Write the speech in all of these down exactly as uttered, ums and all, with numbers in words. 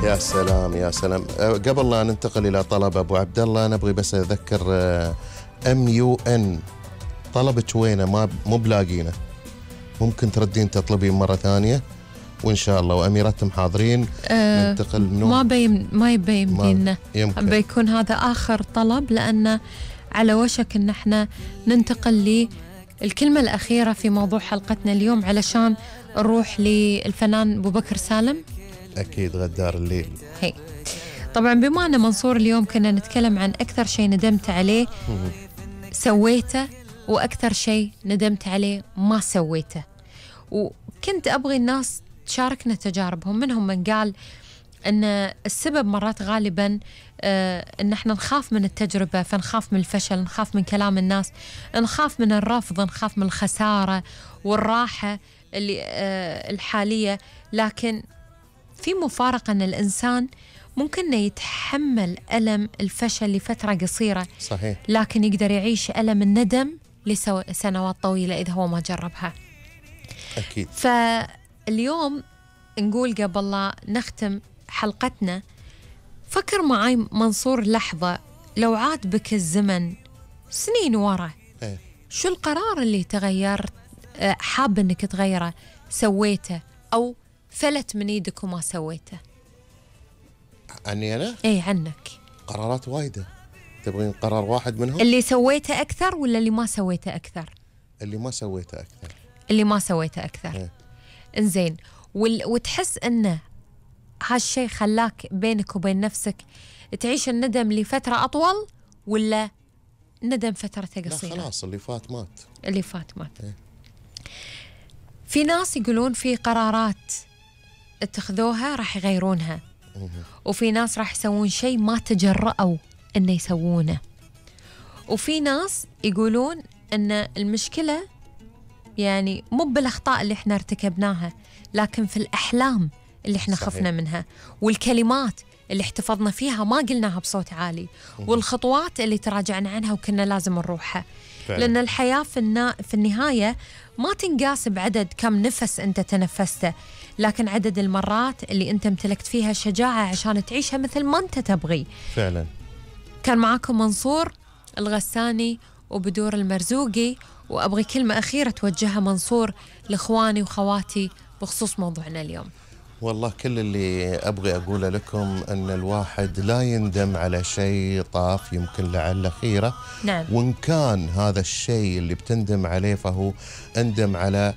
يا سلام يا سلام. قبل لا ننتقل إلى طلب أبو عبد الله، نبغي بس أذكر أم يو إن طلبك وينه؟ ما مو بلاقينه، ممكن تردين تطلبين مرة ثانية وإن شاء الله وأميرتهم حاضرين. أه ننتقل منه ما بيم ما يبي يمدينا، بيكون هذا آخر طلب، لأن على وشك إن احنا ننتقل للكلمة الأخيرة في موضوع حلقتنا اليوم، علشان نروح للفنان أبو بكر سالم. أكيد غدار الليل. هي طبعا بما أن منصور اليوم كنا نتكلم عن أكثر شيء ندمت عليه سويته، وأكثر شيء ندمت عليه ما سويته، وكنت أبغي الناس تشاركنا تجاربهم. منهم من قال أن السبب مرات غالبا آه أن احنا نخاف من التجربة، فنخاف من الفشل، نخاف من كلام الناس، نخاف من الرفض، نخاف من الخسارة والراحة اللي آه الحالية. لكن في مفارقة أن الإنسان ممكن يتحمل ألم الفشل لفترة قصيرة، صحيح، لكن يقدر يعيش ألم الندم لسنوات طويلة إذا هو ما جربها. أكيد. فاليوم نقول قبل لا نختم حلقتنا، فكر معي منصور لحظة، لو عاد بك الزمن سنين ورا، إيه؟ شو القرار اللي تغيرت حاب أنك تغيره سويته، أو فلت من ايدك وما سويته؟ عني أنا؟ اي عنك. قرارات وايدة، تبغين قرار واحد منهم؟ اللي سويته أكثر ولا اللي ما سويته أكثر؟ اللي ما سويته أكثر. اللي ما سويته أكثر. إيه؟ إنزين، وال... وتحس أنه هالشي خلاك بينك وبين نفسك تعيش الندم لفترة أطول، ولا ندم فترته قصيرة؟ لا خلاص، اللي فات مات. اللي فات مات. إيه؟ في ناس يقولون في قرارات اتخذوها راح يغيرونها، وفي ناس راح يسوون شيء ما تجرأوا إنه يسوونه، وفي ناس يقولون إن المشكلة يعني مو بالأخطاء اللي احنا ارتكبناها، لكن في الأحلام اللي احنا صحيح. خفنا منها، والكلمات اللي احتفظنا فيها ما قلناها بصوت عالي، والخطوات اللي تراجعنا عنها وكنا لازم نروحها. فعلا. لأن الحياة في, النا... في النهاية ما تنقاس بعدد كم نفس أنت تنفسته، لكن عدد المرات اللي أنت امتلكت فيها شجاعة عشان تعيشها مثل ما أنت تبغي. فعلا. كان معاكم منصور الغساني وبدور المرزوقي، وأبغي كلمة أخيرة توجهها منصور لإخواني وخواتي بخصوص موضوعنا اليوم. والله كل اللي أبغي أقوله لكم أن الواحد لا يندم على شيء طاف، يمكن لعله خيرة. نعم. وإن كان هذا الشيء اللي بتندم عليه فهو اندم على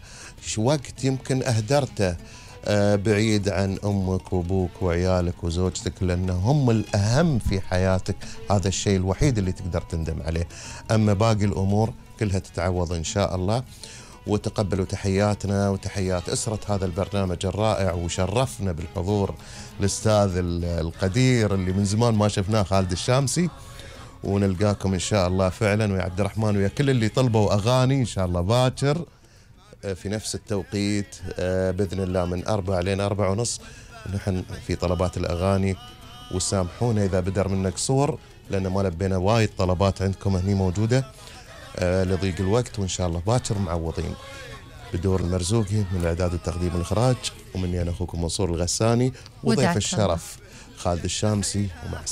وقت يمكن أهدرته بعيد عن أمك وأبوك وعيالك وزوجتك، لأن هم الأهم في حياتك. هذا الشيء الوحيد اللي تقدر تندم عليه. أما باقي الأمور كلها تتعوض إن شاء الله. وتقبلوا تحياتنا وتحيات أسرة هذا البرنامج الرائع، وشرفنا بالحضور الأستاذ القدير اللي من زمان ما شفناه، خالد الشامسي. ونلقاكم إن شاء الله فعلا، ويا عبد الرحمن ويا كل اللي طلبوا أغاني إن شاء الله باكر في نفس التوقيت بإذن الله من أربعة لين أربعة ونص. نحن في طلبات الأغاني، وسامحونا إذا بدر منك قصور، لأن ما لبينا وايد طلبات عندكم هني موجودة آه لضيق الوقت. وإن شاء الله باكر معوضين. بدور المرزوقي من الإعداد والتقديم والإخراج، ومني أنا أخوكم منصور الغساني، وضيف الشرف خالد الشامسي، ومع السلامة.